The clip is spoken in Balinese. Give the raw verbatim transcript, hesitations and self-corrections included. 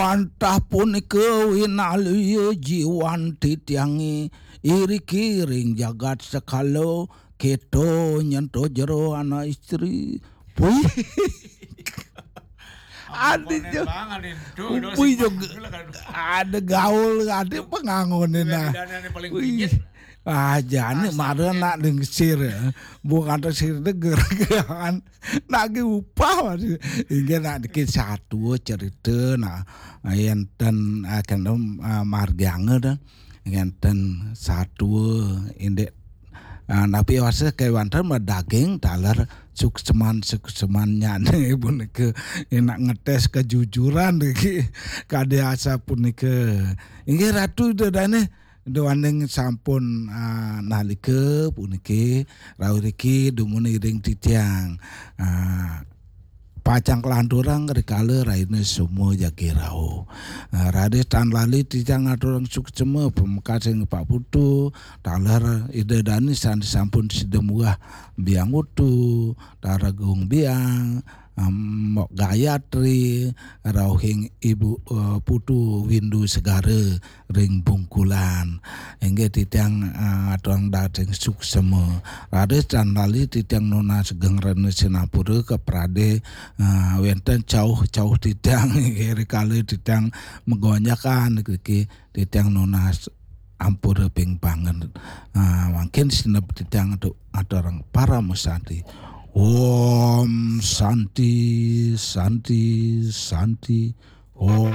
Antah punika winalya jiwan titiange iriki ring jagat sekala, keto nyen to jero anak istri. Puih. Adi jo. Upui jo. Ada gaul, ada pengangone nah. Aja nih mara nak dingsir ya. Bukan sir deger kan. Nagih upah masih. Inggih nak niki satua cerita nah. Enten akan margianga dah. Enten satua indik, napi wasa kewanten madaging taler sukseman-sukseman nyane punika enak ngetes kejujuran niki kadi asa punika. Inggih Ratu Ida Dane, duaning sampun nalika puniki rauh riki dumun iring titiang pacang kalanturang rikala raina semua jagi rauh. Raris tan lali titiang ngaturang suksema pamekas ring Pak Putu, taler Ida Dane sane sampun sida muah biang utu, Taragung Biang, Mbok Gayatri, rauhing Ibu Putu Windu Segara ring Bungkulan. Inggih titiang ngaturang dating suksema. Raris tan lali titiang nunas geng rena sinampura ka prade wenten cauh-cauh titiang inggih rikala titiang magonjakan niki titiang nunas ampura ping banget. Mangkin sineb titiang tu aturang parama santi. Om Santi, Santi, Santi. Om.